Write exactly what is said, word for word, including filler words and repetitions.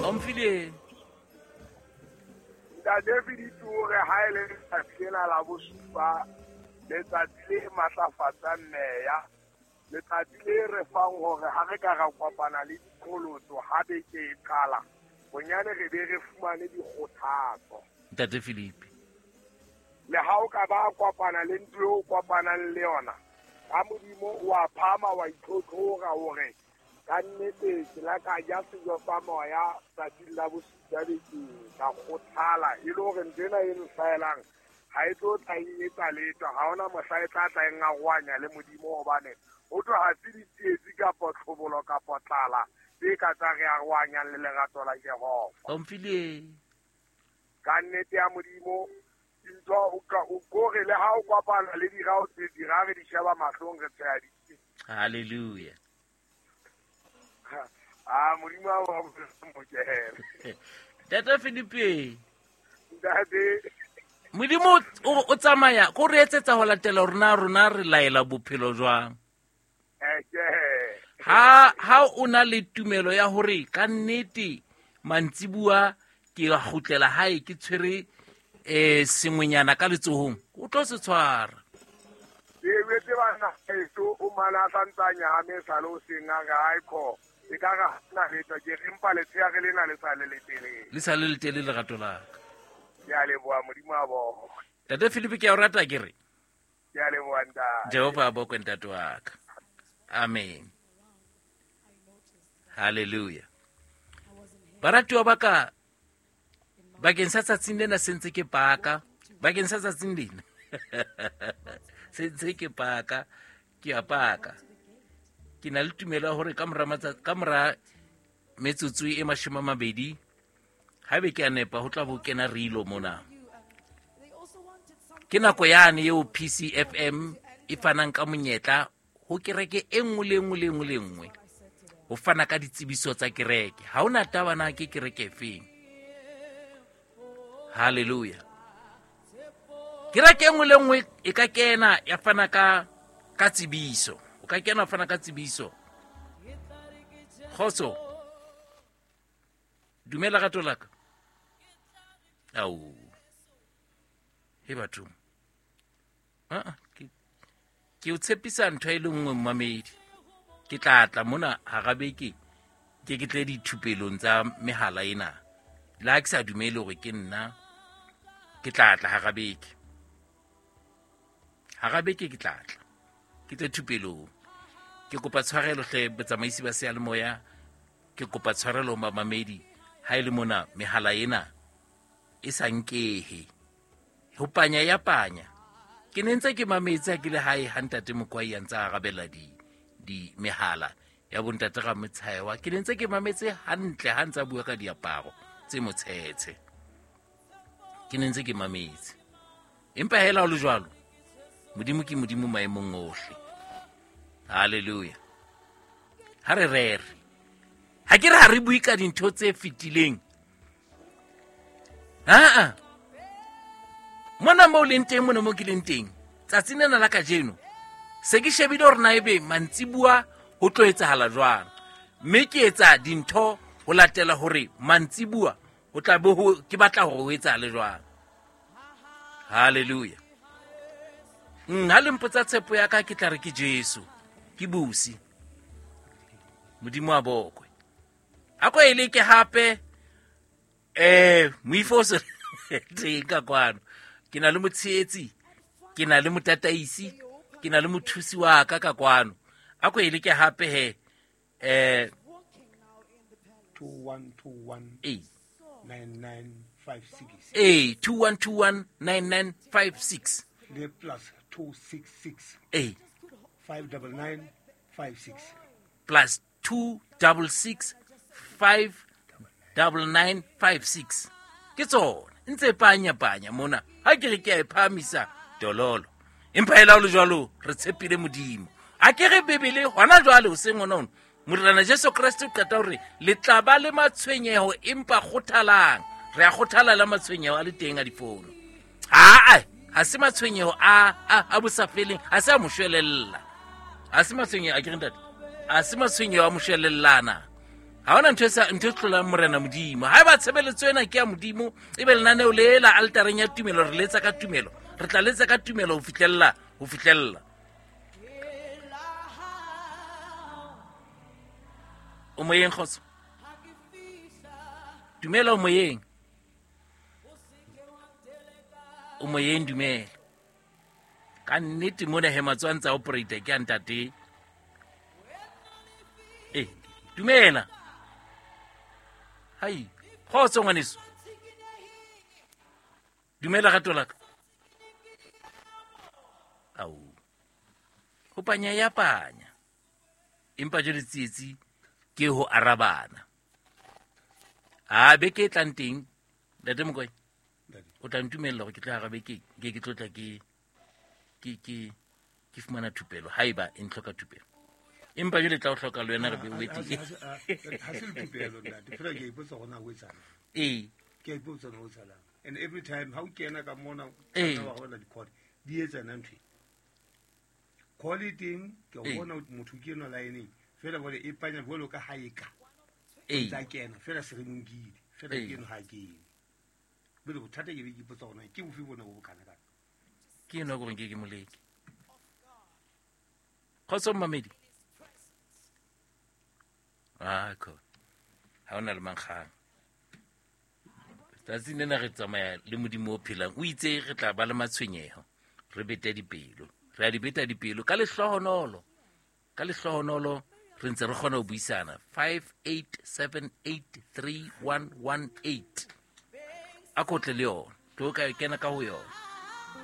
Omphile Ntate Philip o re ha ele letsatsi lena la bosupa, letsatsi le matlafatsang meya, letsatsi le re fang hore ha re ka ra kopana le diqholotso ha beke e qala, bonyane re be re fumane dikgothatso. Ntate Philip, le ha o ka ba kopana le ntho eo o kopanang le yona, ka Modimo o a phama wa itlhotlhora hore ka nnete ke la ka ja sejo sa moya tsatsing la bosupa bekeng, ka kgothala e le hore ntho ena e nhlaelang ha e tlo tla e etsa letho, ha hona mohla e tla tla e ngarohanya le Modimo, hobane ho tlo ha se ditsietsi kapa tlhobolo kapa tlala tse ka tsa re arohanyang le lerato la Jehova. Omphile ka nnete ya Modimo ntho o ka o kore le ha o kopana le dira o tse dira re di sheba mahlong re tsheya di. Hallelujah. Ah, Modimo a wa mokele. Ntate Philip, Ntate Modimo o tsamaya go re etsetsa ho latela rona rona re laela bophelo jwang. Ha ha o na le tumelo ya hore ka nnete mantsibua ke a kgutlela hae ke tshwere eh sengwenyana ka letsohong, o tlo se tshwara. Ke wetse bana eso o mala santsanya ha me sale o seng a re haiko e ka ra na letho ke re mpa letsheya re lena le sa le letelele. Le sa le letelele lerato la ka. Ke a leboha Modimo a bokwe. Ntate Philip ke a o rata ke re. Ke a leboha ntate. Jehova a bokwe ntate wa ka. Amen. Hallelujah. Baratuwa ba ka, bakeng sa tsatsing lena se ntse ke paka, bakeng sa tsatsing lena se ntse ke paka, ke a paka. Ke na le tumelo ya hore ka mora matsatsi, ka mora metsotso e mashome a mabedi, haebe ke a nepa ho tla bo kena rilo mona. Ke nako yane eo P C F M e fanang ka monyetla ho kereke e nngwe le nngwe le nngwe le nngwe ho fana ka ditsebiso tsa kereke. Ha hona taba na ke kereke efeng. Hallelujah. Kereke e nngwe le nngwe e ka kena ya fana ka ka tsebiso. O ka kena fana ka tsebiso. Kgotso. Dumela rato la ka. Au. He batho. Ah, ke ke o tshepisa ntho e le nngwe mmamedi. Ke tla tla mona hara beke ke ke tle dithupelong tsa mehala ena. Le ha ke sa dumele hore ke nna, ke tla tla hara beke. Hara beke ke tla tla. Ke tle thupelong. Ke kopa tshwarelo hle botsamaisi ba seyalemoya, ke kopa tshwarelo mamamedi ha e le mona mehala ena e sa nkehe. Ho panya ya panya. Ke ne ntse ke mametse ha ke le hae ha ntate Mokwai a ntse a arabela di di mehala ya bontate Ramotshaewa. Ke ne ntse ke mametse hantle ha ntse a bua ka diaparo tse motshetshe. Ke ne ntse ke mametse. Empa hela ho le jwalo, Modimo ke Modimo maemong ohle. Hallelujah. Ha re rere. Ha ke re ha re bue ka dintho tse fetileng. Ha-a. Mona moo leng teng, mona moo ke leng teng, tsatsing lena la kajeno, se ke shebile hore na ebe mantsibua ho tlo etsahala jwang. Mme ke etsa dintho ho latela hore mantsibua ho tla be ho, ke batla hore ho etsahale jwang. Hallelujah. Mm, ha le mpotsa tshepo ya ka, ke tla re ke Jesu, ke busi. Modimo a bokwe. A ko e leke hape, eh, moifo o se teng ka kwano. Ke na le motshehetsi, ke na le motataisi, ke na le mothusi wa ka ka kwano. A ko e leke hape he, eh, two one two one eh. nine nine five six. Eh, two one two one nine nine five six. Le plus two six six. Eh. five double nine five six. Plus two double six five double nine five six. Ke tsona ntse panya panya mona. Ha ke re ke a e phahamisa dololo. Empa hela ho le jwalo re tshepile Modimo. A ke re Bibele hona jwale hoseng hona hona. Morena Jesu Kreste o qeta hore le tla ba le matshwenyeho empa kgothalang. Re a kgothala la matshwenyeho a le teng a difono. Aa, ha se matshwenyeho a a a bosafeleng, ha se a moshwelella. Ha se matshwenyeho a ke re ntate. Ha se matshwenyeho a moshwelellana. Ha hona ntho e sa ntho e hlolang morena Modimo. Ha eba tshebeletso ena ke ya Modimo, ebe lenaneo le la altareng ya tumelo re letsa ka tumelo. Re tla letsa ka tumelo ho fihlella, ho fihlella. O moyeng kgotso. Dumela o moyeng. O moyeng dumela. Ka nnete mona he matswa a ntsa operator ke a ntate. Eh, dumela. Hai, kgotso ngwaneso. Dumela rato la ka. Au. Ho panya ya panya. Empa jwale tsietsi ke ho arabana. A beke e tlang teng, ntate Mokoena, o tla ntumella hore ke tla arabe ke ke ke tlo tla ke ke ke ke fumana thupelo haeba e ntlhoka thupelo. Empa jwale tla o hloka le wena re be o etse. Ha se thupelo ntate, fela ke ipotsa hore na ho etsahalang. Ee. Ke ipotsa hore ho etsahalang. And every time ha o kena ka mona Ee. ka wa bona di-call, di etsa na ntho e. Call e teng, ke o Ee. bona motho ke enwa line-eng, fela jwale e panya jwalo ka ha e ka. Ee. Tsa kena, fela se re mo nkile, fela Ee. ke enwa ha kene. Jwale bothata ke be ke ipotsa hore na ke bofe bona bo bokana kana. Ke enwa ke reng ke ke moleke. Kgotso mmamedi. Ah, ko. Ha hona le mankgang. Tsatsing lena re tsamaya le Modimo o phelang. O itse re tla ba le matshwenyeho. Re bete dipelo. Re a di beta dipelo ka lehlohonolo. Ka lehlohonolo re ntse re kgona ho buisana. five eight seven eight three one one eight. A ko tle le yona. Tlo ka kena ka ho yona.